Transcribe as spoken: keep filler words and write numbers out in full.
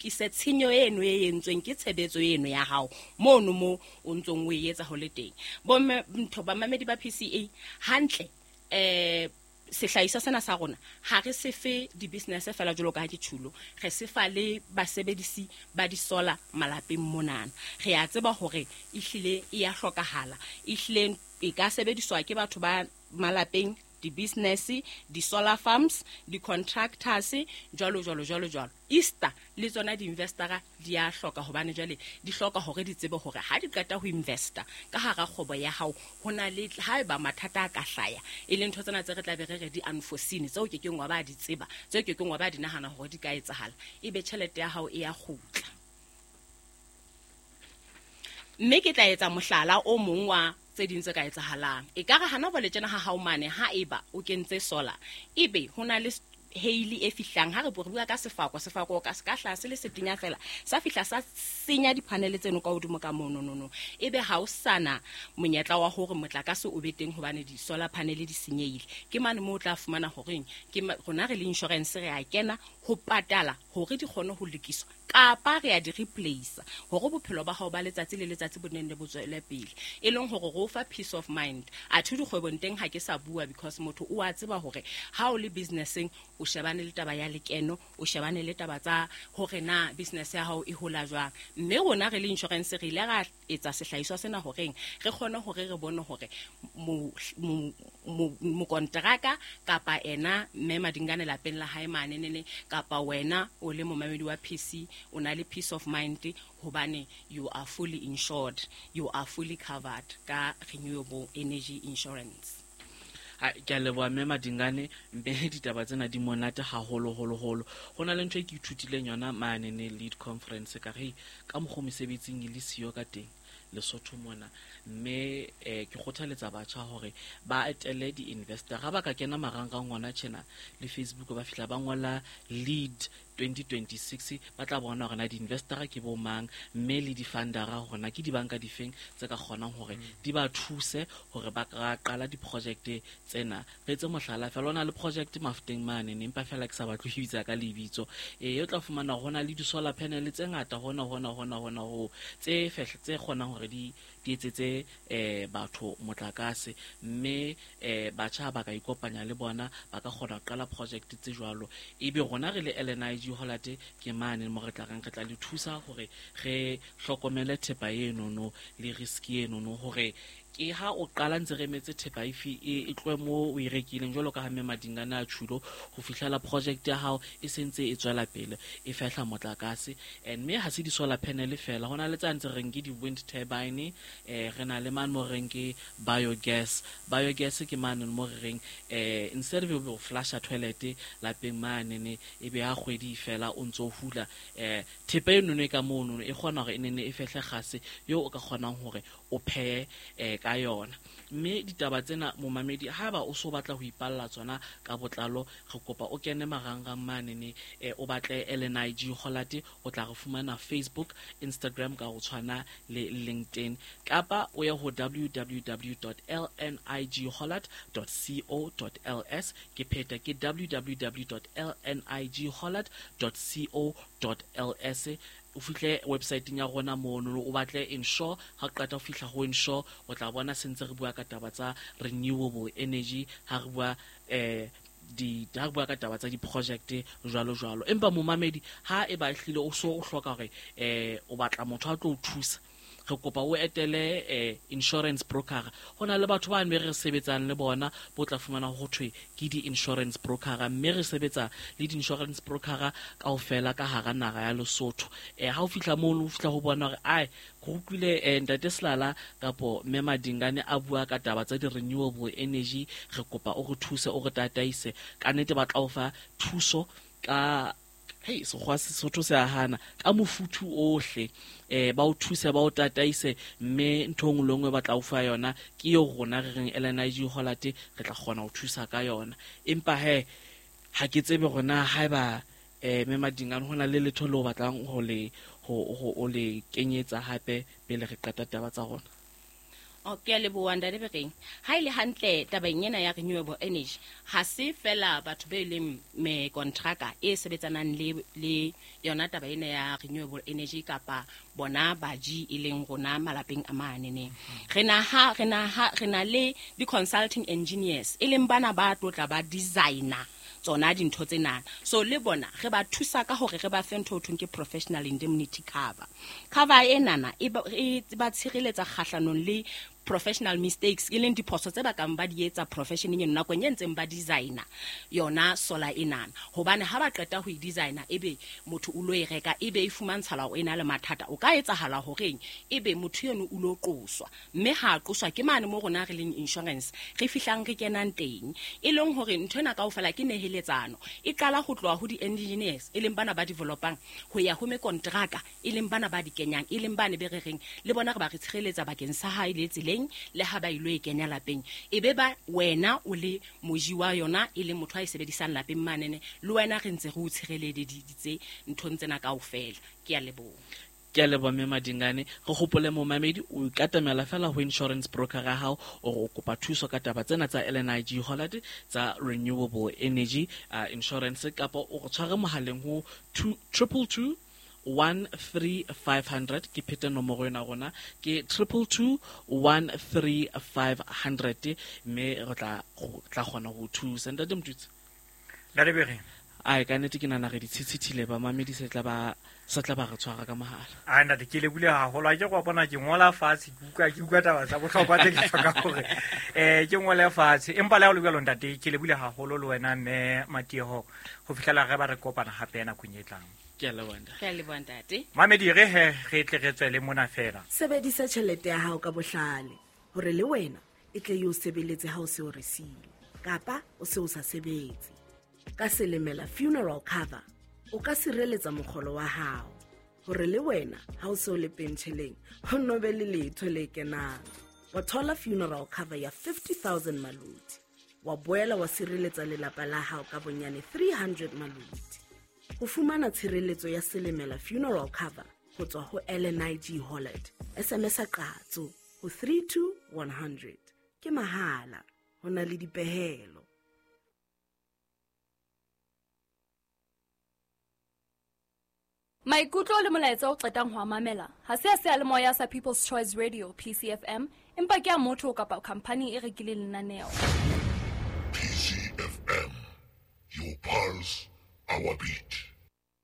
Tlise tshenyo eno e entsweng ke tshebetso eno ya hao mono mo o ntsong o e etsa ho le teng. Bomme ntho bamamedi ba P C A hantle eh sehlahiswa sena sa rona ha re se fe di-business fela jwalo ka ha ke tjhulo, re se fa le basebedisi ba di-solar malapeng monana. Re a tseba hore ehlile e ya hlokahala, ehlile e ka sebediswa ke batho ba malapeng, di-business, di-solar farms, di-contractors, jwalo jwalo jwalo jwalo. Easter le tsona di-investora di a hloka hobane jwale di hloka hore di tsebe hore ha di qeta ho investa ka hara kgwebo ya hao ho na le haeba mathata a ka hlaya, e leng ntho tsena tse re tla be re re di unforeseen, tseo ke keng wa ba di tseba, tseo ke keng wa ba di nahana hore di ka etsahala, ebe tjhelete ya hao e ya kgutla. Mme ke tla etsa mohlala o mong wa tse ding tse ka etsahalang. E ka re hana jwale tjena ha hao mane ha eba o kentse solar, ebe ho na le hail e fihlang, ha re bua ka sefako, sefako ka se ka hlaha se le setenya fela, sa fihla sa senya di-panel tseno ka hodimo ka mono no no. Ebe ha o sana monyetla wa hore motlakase o be teng hobane di-solar panel di senyehile. Ke mane moo o tla fumana horeng ke rona re le insurance re a kena ho patala hore di kgone ho lokiswa kapa re a di replace hore bophelo ba hao ba letsatsi le letsatsi bo nne bo tswele pele, e leng hore re o fa peace of mind. Athe dikgwebong teng ha ke sa bua because motho o a tseba hore ha o le businesseng o shebane le taba ya lekeno, o shebane le taba tsa hore na business ya hao e hola jwang. Mme rona re le insurance re ile ra etsa sehlahiswa sena horeng re kgone hore re bone hore mokonteraka kapa ena mme Madingane lapeng la hae manenene kapa wena o le momamedi wa P C o na le peace of mind hobane you are fully insured, you are fully covered ka renewable energy insurance. Ha ke a leboha mme Madingane, mme ditaba tsena di monate haholo holo holo. Ho na le ntho e ke ithutileng yona mane ne lead conference ka re ka mokgwa mesebetsing e le siyo ka teng Lesotho mona, mme eh ke kgothaletsa batjha hore ba etele di-investor. Ha ba ka kena marangrang hona tjena le Facebook ba fihla ba ngola lead twenty twenty-six, ba tla bona hore na di-investor ke bo mang, mme le di-fundera hore na ke dibanka difeng tse ka kgonang hore di ba thuse hore ba ka qala di-project tsena. Re etse mohlala fela, ho na le project Mafuteng mane, empa fela ke sa batle ho bitsa ka lebitso. Eh o tla fumana hore ho na le di-solar panel tse ngata hona hona hona hona ho tse fehle tse kgonang hore di di etsetse eh batho motlakase, mme eh batjha ba ka ikopanya le bona ba ka kgona ho qala project tse jwalo. Ebe rona re le L N I G Hollard ke mane mo re tla reng re tla le thusa hore re hlokomele thepa eno no le risk eno no, hore ke ha o qala ntse re emetse thepa e fi e tlohe mo o e rekileng jwalo ka ha mme Madingane a tjhulo ho fihlela project ya hao e sentse e tswela pele e fehla motlakase. And mme ha se di-solar panel fela, ho na le tsa ntse reng ke di-wind turbine, eh re na le mane mo reng ke biogas. Biogas ke mane mo re reng eh instead of o flasha toilet lapeng mane ne e be ha kgwedi fela o ntso hula eh thepa eno ne ka mono e kgona hore e nene e fehle kgase eo o ka kgonang hore o phehe eh ka yona. Mme ditaba tsena momamedi ha ba o so batla ho ipalla tsona ka botlalo, re kopa o kene marangrang mane ne o batle L N I G Hollard, o tla re fumana Facebook, Instagram ka ho tshwana le LinkedIn, kapa o ye ho w w w dot l n i g hollard dot co dot l s. Ke pheta ke w w w dot l n i g hollard dot co dot l s. O fihle website-eng ya rona mono o batle insure. Ha o qeta ho fihla ho insure o tla bona sentse re bua ka taba tsa renewable energy, ha re bua eh di ha re bua ka taba tsa di-project jwalo jwalo. Empa momamedi ha e ba ehlile o so o hloka hore eh o batla motho a tlo o thusa, re kopa o etele eh insurance broker. Ho na le batho ba mme re sebetsang le bona bo tla fumana ho thwe ke di-insurance broker, mme re sebetsa le di-insurance broker kaofela ka hara naha ya Lesotho. Eh ha o fihla mono o fihla ho bona hore ai ke utlwile eh ntate Selala kapo mme Madingane a bua ka taba tsa di-renewable energy, re kopa o re thuse o re tataise. Ka nnete ba tla o fa thuso ka hei sekgowa Sesotho se a hana ka mofuthu ohle, eh ba o thuse ba o tataise, mme ntho e nngwe le nngwe ba tla o fa yona ke eo rona re reng L N I G Hollard re tla kgona ho thusa ka yona. Empa he ha ke tsebe rona haeba eh mme Madingane ho na le letho leo batlang ho le ho o le kenyetsa hape pele re qeta taba tsa rona. O ke a leboha ntate Bereng. Ha ile hantle tabeng ena ya renewable energy, ha se fela batho be leng me kontraka e sebetsanang le le yona taba ena ya renewable energy kapa bona baji e leng rona malapeng a manene. Re na ha re na ha re na le di consulting engineers e leng bana ba tlotla ba designer tsona dintho tsena. So le bona re ba thusa ka hore re ba fe ntho ho thweng ke professional indemnity cover. Cover enana e ba e ba tshireletsa kgahlanong le professional mistakes e leng diphoso tse ba kang ba di etsa professioneng eno nakong e ntseng ba designer yona solar enana. Hobane ha ba qeta ho e designer ebe motho o lo e reka ebe e fumantshala o ena le mathata, o ka etsahala horeng ebe motho eno o lo qoswa, mme ha qoswa ke mane mo rona re leng insurance re fihlang re kenang teng, e leng hore ntho ena kaofela ke neheletsano e qala ho tloha ho di-engineers e leng bana ba developang ho ya ho mekontraka e leng bana ba di kenyang e leng bane be re reng le bona re ba re tshireletsa bakeng sa hae le tseleng le ha ba ilo e kenya lapeng, e be ba wena o le moji wa yona e leng motho a e sebedisang lapeng manene le wena re ntse re o tshireleditse nthong tsena kaofela. Ke a leboha. Ke a leboha mme Madingane. Re hopole momamedi o ikatamela fela ho insurance broker ya hao o o kopa thuso ka taba tsena tsa L N I G Hollard tsa renewable energy uh, insurance, kapa o re tshware mohaleng ho two triple two one three five hundred. Ke phete nomoro ena rona ke triple two one three five hundred, mme re tla tla kgona ho thusa. Ntate Motutsi. Ntate Bereng. Ai ka nnete ke nahana re di tshitshithile ba mamedi se tla ba sa tla ba re tshwara ka mohala. Ai ntate ke lebule haholo, a ke go bona ke ngola fatshe ke utlwa ke utlwa taba tsa bohlokwa tse ke hloka hore eh ke ngole fatshe, empa le ha o le jwalo ntate ke lebule haholo le wena mme Matieho ho fihlela re ba re kopana hape nakong e tlang. Ke a leboha ntate. Ke a leboha ntate. Mamedi re he re tle re tswele mona fela. Sebedisa tjhelete ya hao ka bohlale hore le wena e tle e o sebeletse ha o se o re siile kapa o se o sa sebetse. Ka Selemela funeral cover o ka sireletsa mokgolo wa hao hore le wena ha o se o le pentjheleng ho no be le letho le kenang. Wa thola funeral cover ya fifty thousand maluti, wa boela wa sireletsa lelapa la hao ka bonyane three hundred maluti. Ho fumana tshireletso ya Selemela funeral cover ho tswa ho L N I G Hollard, S M S a qatso ho three two one hundred. Ke mahala, ho na le dipehelo. Maikutlo le molaetsa o qetang ho a mamela ha se a seyalemoya sa People's Choice Radio P C F M, empa ke a motho kapa khampani e rekileng lenaneo. P C F M, your pulse, our beat.